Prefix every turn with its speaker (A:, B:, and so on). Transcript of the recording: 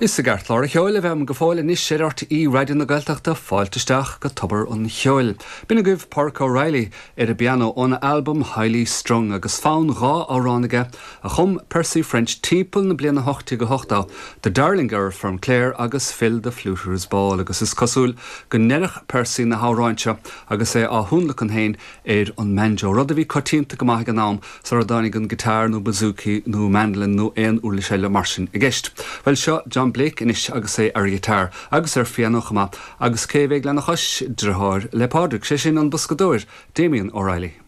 A: Is i gceartlár an cheoil a bheam go fóill anois ar RTÉ Raidió na Gaeltachta, fáilte isteach go Tobar an Cheoil. B'in agaibh Pádraic O'Reilly ar an bpianó óna albam Highly Strung agus fonn 2 amhrán aige a chum Percy French timpeall na bliana 1880, The Darling Girl from Clare agus Fill the Fluter's Ball agus is cosúil go ndeireadh Percy na hamhráin seo agus é á thionlacan féin ar an mbanjo, rud a bhí coitianta go maith ag an am sara dtáinig an guitar nó bouzouki nó mandolin nó aon uirlis eile mar sin i gceist. Bhuel, seo John Blake anois agus é ar ghiotár agus ar phianó chomh maith agus cé a bheidh lena chois? Driotháir le Pádraig, sé sin an boscadóir, Damien O'Reilly.